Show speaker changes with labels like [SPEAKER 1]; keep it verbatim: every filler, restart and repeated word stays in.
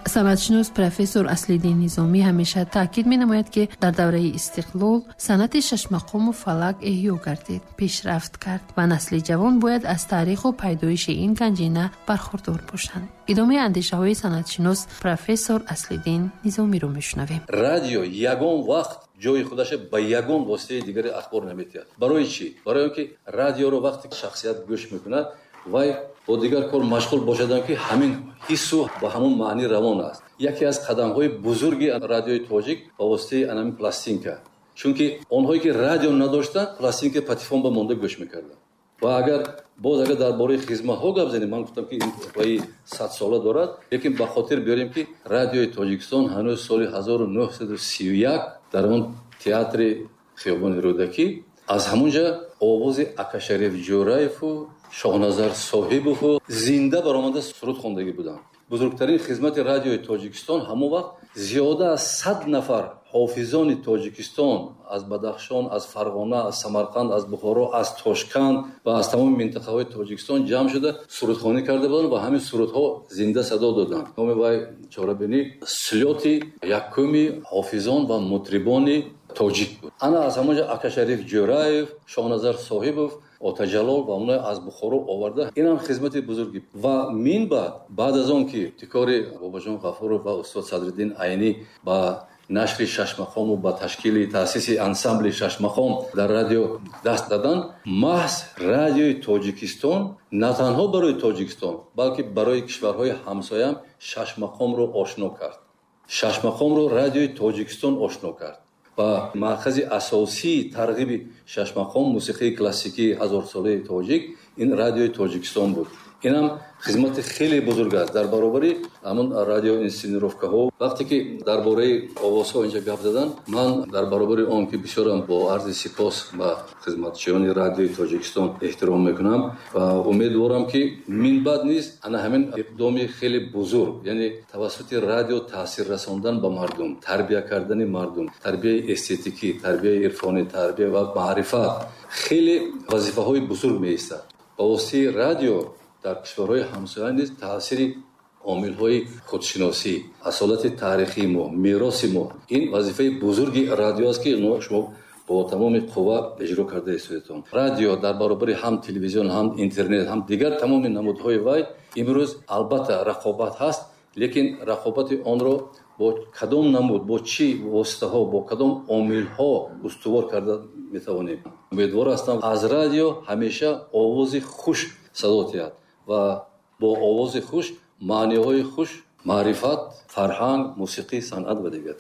[SPEAKER 1] Санъатшинос профессор Аслиддин Низомӣ ҳамеша таъкид менамояд, ки дар давраи истиқлол санъати шашмақому фалак эҳё гардид, пешрафт кард ва насли ҷавон бояд аз таъриху пайдоиши ин ганҷина бархурдор бошанд. Идомаи андешаҳои санъатшинос профессор Аслиддин Низомиро мешунавем.
[SPEAKER 2] Радио ягон вақт ҷои худаша ба ягон воситаи дигари ахбор наметиҳад. Барои чӣ? Барои он ки радиоро вақте шахсият гӯш мекунад, вай бо дигар кор машғул бошадам, ки ҳамин ҳиссу ба ҳамон маъни равон аст. Яке аз қадамҳои бузурги радиои тоҷик ба воситаи анами пластинка, чунки онҳое ки радио надоштанд, пластинка патефон ба монда гӯш мекарданд. Ва агар боз агар дар бораи хизматҳо гап занем, ман гуфтам, ки ин ваи садсола дорад, лекин ба хотир биёрем, ки радиои Тоҷикистон ҳанӯз соли ҳазору нӯҳсаду сию як дар он театри хиёбони Рӯдакӣ аз ҳамунҷа овози Акашариф Ҷӯраеву Шоҳназар Соҳибову зинда баромада суруд хондагӣ буданд. Бузургтарин хизмати радиои Тоҷикистон ҳамон вақт зиёда аз сад нафар ҳофизони Тоҷикистон аз Бадахшон, аз Фарғона, аз Самарқанд, аз Бухоро, аз Тошканд ва аз тамоми минтақаҳои Тоҷикистон ҷамъ шуда сурудхонӣ карда буданд ва ҳамин сурудҳо зинда садо доданд. Номи вай чорабинӣ слёти якуми ҳофизон ва мутрибони тоҷик буд. Ана аз ҳамонҷа Акашариф Ҷӯраев, Шоҳназар Соҳибов, Отаҷалол ва онҳо аз Бухоро оварда. Инам хизмати бузурги. Ва мин баъд, баъд аз он ки ибтикори Бобоҷон Ғафуров ва устод Садриддин Айнӣ ба нашри шашмақому ба ташкили таъсиси ансамбли шашмақом дар радио даст даданд, маҳз радиои Тоҷикистон на танҳо барои Тоҷикистон, балки барои кишварҳои ҳамсоям шашмақомро ошно кард. Шашмақомро радиои Тоҷикистон ошно кард ва маркази асосии тарғиби шашмақом, мусиқии классикии ҳазорсолаи тоҷик ин радиои Тоҷикистон буд. Инам хизмати хеле бузург аст дар баробари ҳамон радиоинсценировкаҳо. Вақте ки дар бораи овозҳо инҷа гап задан, ман дар баробари он ки бисёрам бо арзи сипос ба хизматчиёни радиои Тоҷикистон эҳтиром мекунам ва умедворам, ки минбаъд низ ана ҳамин иқдоми хеле бузург, яъне тавассути радио таъсир расондан ба мардум, тарбия кардани мардум, тарбияи эстетикӣ, тарбияи ирфонӣ, тарбия ва маърифат хеле вазифаҳои бузург меистад. Ба воситаи радио дар кишварҳои ҳамсоя низ таъсири омилҳои худшиносӣ, асолати таърихии мо, мероси мо, ин вазифаи бузурги радио аст, ки шумо бо тамоми қувва иҷро карда истодаетон. Радио дар баробари ҳам телевизион, ҳам интернет, ҳам дигар тамоми намудҳои вай имрӯз албатта рақобат ҳаст, лекин рақобати онро бо кадом намуд, бо чӣ воситаҳо, бо кадом омилҳо устувор карда метавонем? Умедвор ҳастам, аз радио ҳамеша овози хуш садо диҳад ва бо овози хуш маъниҳои хуш, маърифат, фарҳанг, мусиқӣ, санъат ва дигар.